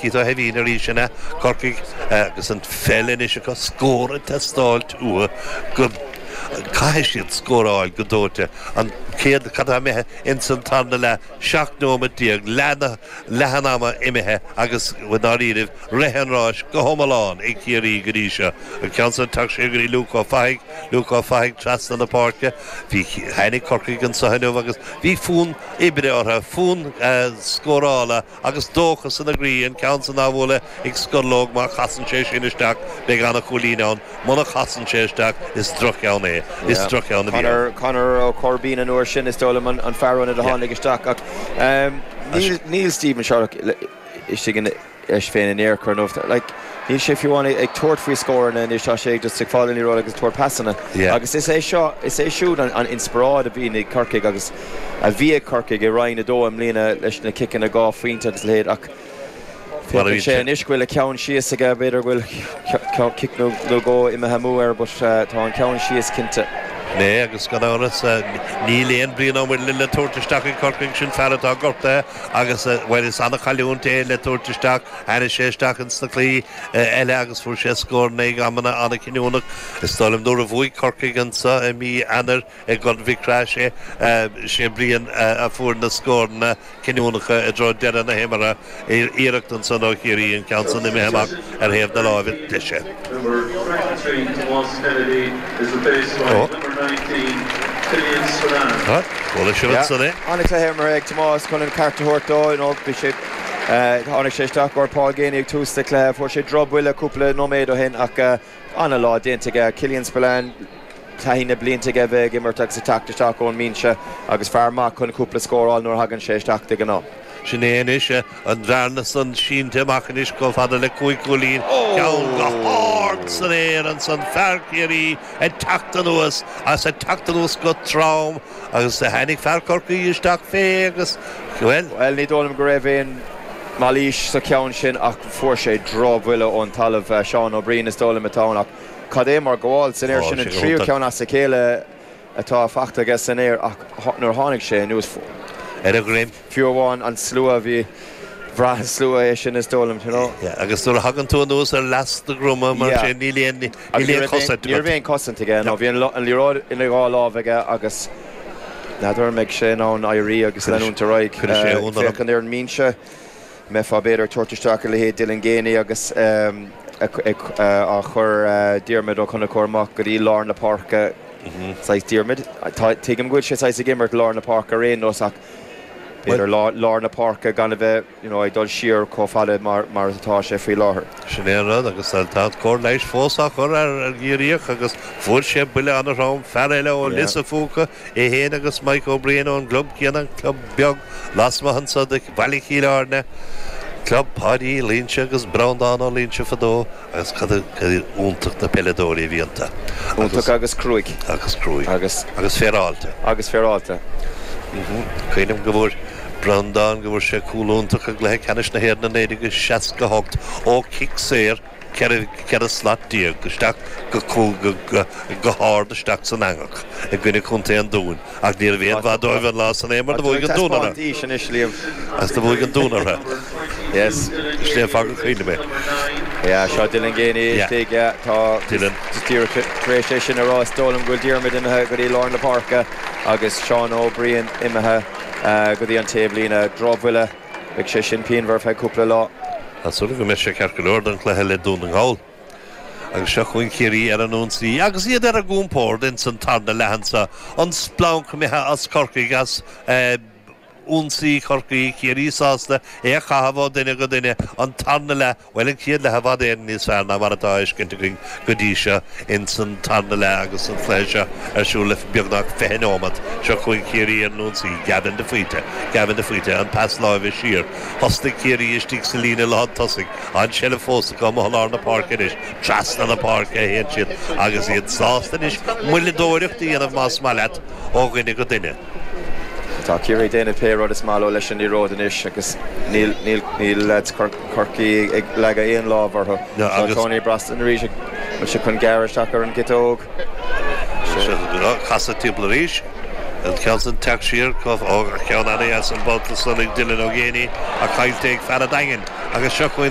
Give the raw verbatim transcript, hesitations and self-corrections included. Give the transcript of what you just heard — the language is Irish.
Keith Ó hEimhín arís in Corcaigh agus an pheil anois acu scór ag teastáil uathu go caithfidh siad scóráil go dóite an céad cad imithe ins an tarna leath seacht nóiméad déag leath an ama imithe agus dáiríribh rith an ráis go hiomlán ag Ciarraí go dtí seo. An ceann san teacht sé go dtí Luke Ó Fathaigh, Luke Ó Fathaigh trasna na páirce, bhí tháinig Corcaigh anseo inniu agus bhí fonn oibre orthu, fonn scórála agus dóchas ina gcroí an ceann san á bhualadh ag Scorlóg má chasann sé sin isteach beidh an-chúilín ann, muna chasann sé isteach is drochcheann é, is drochcheann a bhí ann. Conor Ó Corbín an uair sin is dóigh liom an fear ionaid a tháinig isteach ach níl níl Stephen Sherlock istigh in leis féin in aon chor nó like níl sé fiú amháin ag tabhairt faoi scóranna anois tá sé just ag fáil an liathróid agus tabhairt pasanna. Agus is é seo is é siúd an, an inspioráid a bhíonn ag Corcaigh agus a bhí ag Corcaigh i Roinn a dó i mbliana leis na ciceanna dhá phointe agus leithéid ach Féachann sé anois go bhfuil a ceann síos aige b'fhéidir go bhfuil cic nó dhó imithe amú air but tá an ceann síos cinnte. Né agus gan amhras níl aon Brian Ó Muirthile le tabhairt isteach ag Corcaigh sin fear atá gortaithe agus bhuel is an-chailliúint é le tabhairt isteach tháinig sé isteach ins na cluichí eile agus fuair sé scóranna ag amanna an-chinniúnach. Is dóigh liom nuair a bhuaigh Corcaigh anseo i mí Eanáir i gCorn Mhic Craith sé sé Brian a fuair na scóranna cinniúnacha i dtreo deireadh na himeartha iarracht ansan ó Chiarraí an ceann san imithe amach ar thaobh na láimhe deise. Ó. Chuala sibh ansan é. An-chluiche imeartha ag Tomás chun an ceart a thabhairt dó nó bhí sé tháinig sé isteach ar Paul Geaney ag tús na cluiche fuair sé drochbhuille cúpla nóiméad ó shin ach an-lá déanta aige Killian Spillane taithí na blianta aige bheith ag imirt agus ag teacht isteach ón mbinse agus fear maith chun cúpla scóráil nuair a thagann sé isteach de ghnáth. Sin é anois an bhearna san sínte amach anois chomh fada le cúig chúilín ceann go hard san aer ansan fear Chiarraí ag teacht anuas as ag teacht anuas go trom agus tháinig fear Chorcaí isteach fé agus bhuel. Bhuel ní dóigh liom go raibh aon mailís sa cheann sin ach fuair sé drochbhuille ón talamh Seán Ó Briain is dóigh liom atá ann ach cad é mar gabháil san aer sin an tríú ceann as a chéile atá faighte aige san aer ach nuair a tháinig sé anuas ar a dhroim. Fiú amháin an slua bhí bhraith an slua é sin is dóigh liom you know. Yeah, agus nuair a thagann tú anuas ar leas do dhroma mar sin níl aon níl aon chosaint Ní raibh aon chosaint aige nó bhí an liathróid ina dhá lámh aige agus n'fheadar an mbeidh sé in ann éirí agus leanúint ar aghaidh. Féachaint ar an mbinse mbeifeá b'fhéidir ag tabhairt isteach a leithéid Dylan Geaney agus á chur Diarmuid Ó Conchúir amach go dtí lár na páirce saghas Diarmuid. Tuigim go bhfuil sé saghas ag imirt lár na páirce ar aon nós ach b'fhéidir lár na páirce gan a bheith you know, ag dul siar chomh fada mar mar atá sé faoi láthair. Sin é an rud agus tá cóir leighis fós á chur ar ar Chiarraíoch agus fuair sé buille an-throm fear eile ó Lios a' Phúca é féin agus Mike Ó Briain ón gclub céanna an club beag lasmuigh anso de Bhaile Chill Airne. Club Páidí Loinsigh agus Breandán Ó Loinsigh fadó agus cad iontach na peileadóirí a bhí iontu. Iontach agus cruaidh. Agus cruaidh. Agus agus féaráilte. Agus féaráilte. Cuimhním go bhfuair Breandán go bhfuair sé cúl iontach i gcluiche ceannais na hÉireann i naoi déag seasca hocht ó chic saor ceithre ceithre slat déag isteach go go go go hard isteach san eangach i gcoinne Chontae an Dúin ach ní raibh aon mhaith dóibh an lá san é mar do bhuaigh an Dún orthu. Anois Liam. Agus do bhuaigh an Dún orthu. Yes. Sin é an fáth gur cuimhin liom é. Yeah, seo Dylan Geaney istigh, yeah, tá Dylan. díreach tar éis é sin a rá is dóigh liom go bhfuil Diarmuid imithe go dtí lár na páirce agus Seán Ó Briain imithe go dtí an taobhlíne. Drochbhuille, beidh sé sin pianmhar feadh cúpla lá. Tá súil go mbeidh sé ceart go leor don chluiche le Dún na nGall. Agus seo chugainn Ciarraí ar an ionsaí agus iad ar a gcompord ins an tarna leath anseo. An splanc imithe as Corcaigh as ionsaí Chorcaí, Ciarraí sásta é a chaitheamh ó dhuine go duine an tarna leath, bhuel an chéad leath i bhfad Éireann níos fearr ná mar atá feiscint againn go dtí seo ins an tarna leath agus an cluiche seo ar siúl le beagnach fiche nóiméad. Seo chugainn Ciarraí ar an ionsaí, Gavin de Faoite, Gavin de Faoite, an pas láimhe siar. Thosnaigh Ciarraí istigh sa líne lántosaigh, an tseilbh fós acu amuigh i lár na páirce anois, trasna na páirce a théann siad agus iad sásta anois moilleadóireacht a dhéanamh más maith leat ó dhuine go duine. Tá Ciarraí ag déanamh pé rud is maith leo leis an liathróid anois agus níl níl níl leaids Chorcaí ag leagadh aon lámh orthu. Seo Tony Brosnan arís ag bhfuil sé chun gearradh isteach ar an gciotóg. Casadh timpeall arís. An ceann san teacht siar ó cheann an-dheas an babhta san ag Dylan Ó Géibheannaigh ach caillte ag fear an Daingin. Agus seo chugainn